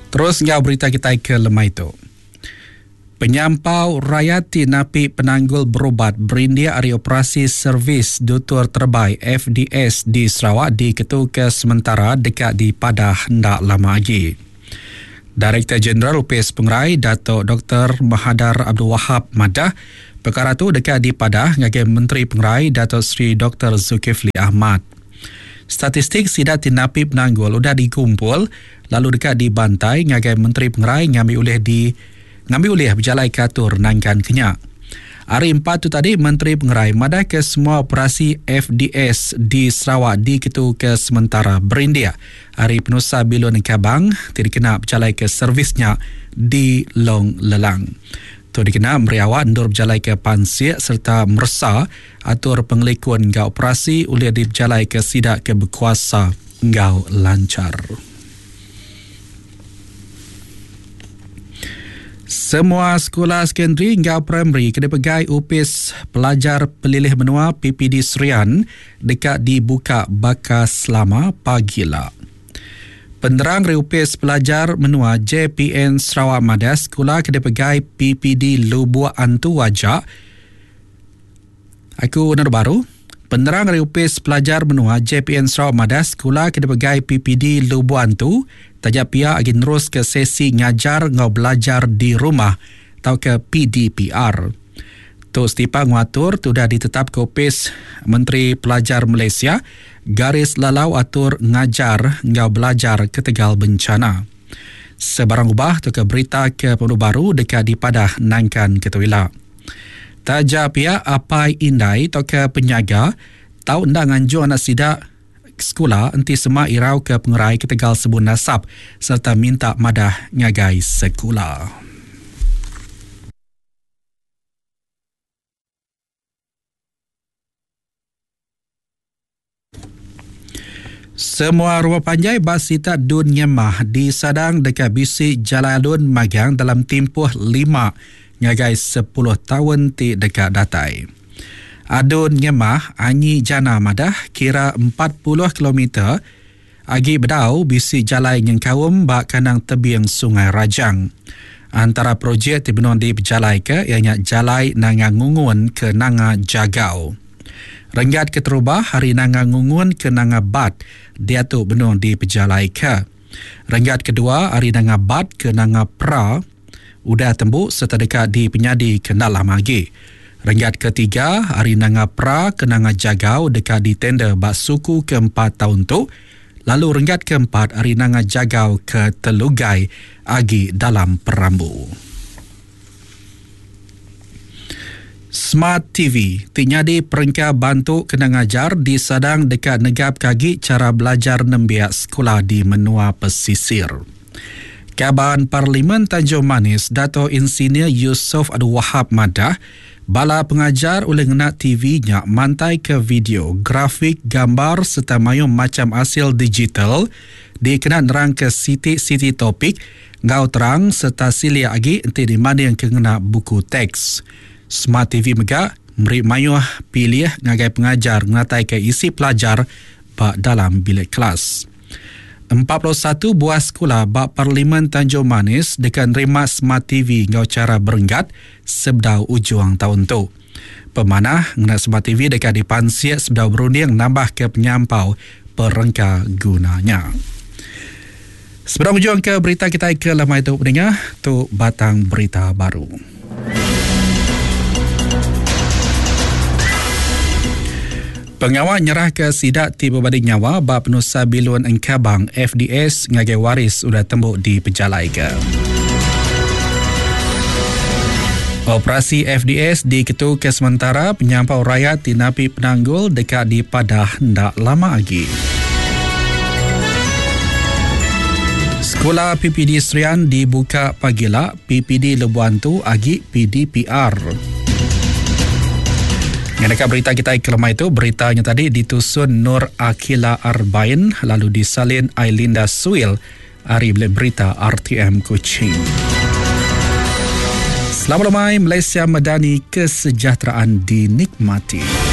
Terus enggau berita kitai ke lemai tu. Penyampau rayat ti napi penanggul berubat berindik ari operasi Servis Dutur Terebai, FDS, di Sarawak diketuka sementara deka dipadah enda lama agi. Direktor Jeneral Opis Pengerai Datuk Doktor Mahadar Abdul Wahab madah, pekara tu deka dipadah ngagai Menteri Pengerai Datuk Seri Doktor Zulkifli Ahmad. Statistik sida ti napi penanggul udah digumpul lalu deka dibantai ngagai Menteri Pengerai ngambi ulih di ngambi ulih bejalaika atur nangkan ke nya. Hari Empat tu tadi Menteri Pengerai madahka semua operasi FDS di Sarawak diketuka sementara berindik ari penusah bilun engkabang ti dikena bejalaika servis nya di Long Lelang. Tu dikena meri awak endur bejalaika pansik sereta meresa Atur pengelikun enggau operasi ulih dipejalaika sida ke bekuasa enggau lanchar. Semua sekula sekondari enggau primari ke dipegai Opis Pelajar Pelilih Menua PPD Serian deka dibuka baka selama pagila. Penerang ari Opis Pelajar Menua JPN Sarawak madah sekula ke dipegai PPD Lubok Antu aja Aku Nur Baru, Penerang ari Opis Pelajar Menua JPN Sarawak madah sekula ke dipegai PPD Lubok Antu taja pia agi neruska sesi ngajar enggau belajar di rumah tauka PDPR. Tu setipak enggau atur ti udah ditetapka Opis Menteri Pelajar Malaysia garis lalau atur ngajar enggau belajar ketegal bencana. Sebarang ubah tauka berita ke pemadu baru deka dipadah nangkan ke tu ila. Taja pia apai indai tauka penyaga tau enda nganjung anak sida ke sekula enti sema irauka pengerai ketegal sebun asap sereta minta madah ngagai sekula. Semua rumah panjai ba sitak Dun Ngemah disadang deka bisi jalai alun magang dalam timpuh lima ngagai sepuluh taun ti deka datai. Adun Ngemah Anyi Jana madah kira 40 kilometer agi bedau bisi jalai nyengkaum ba kandang tebing Sungai Rajang. Antara projek ti benung dipejalaika iya nya Jalai Nanga Ngungun ke Nanga Jagau. Renggat keterubah ari Nanga Ngungun ke Nanga Bat diatu benung dipejalaika. Renggat kedua ari Nanga Bat ke Nanga Pra udah tembu sereta deka dipenyadi ke enda lama agi. Renggat ketiga ari Nanga Pra ke Nanga Jagau deka ditender ba suku keempat taun tu lalu renggat keempat ari Nanga Jagau ke Telugai agi dalam perambu. Smart TV ti nyadi perengka bantu kena ngajar disadang deka negapka agi chara belajar nembiak sekula di menua pesisir. Kaban Parlimen Tanjung Manis Dato Insinyur Yusof Abdul Wahab madah, bala pengajar ulih ngena TV nya mantaika video, grafik, gambar sereta mayuh macham asil digital dikena nerangka siti-siti topik Enggau terang sereta silik agi enti dibandingka ngena buku teks. Smart TV mega meri mayuh pilih ngagai pengajar ngenataika isi pelajar ba dalam bilik kelas. 41 buah sekula ba Parlimen Tanjung Manis deka nerima Smart TV enggau chara berenggat sebedau ujung taun tu. Pemanah ngena Smart TV deka dipansik sebedau berunding nambahka penyampau perengka guna nya. Sebedau ngujungka berita kitai ke lemai tu peninga, tu batang berita baru. Pengawa nyerahka sida ti bebadi nyawa ba penusah bilun engkabang FDS ngagai waris udah tembu dipejalaika. Operasi FDS diketuka sementara penyampau rayat ti napi penanggul deka dipadah enda lama agi. Sekula PPD Serian dibuka pagila, PPD Lebuh Antu agi PDPR. Ngeneka berita kita ke lemai tu, berita nya tadi ditusun Nur Akila Arbain lalu disalin Ailinda Suil ari Bilik Berita RTM Kuching. Selamat lemai Malaysia Madani kesejahteraan dinikmati.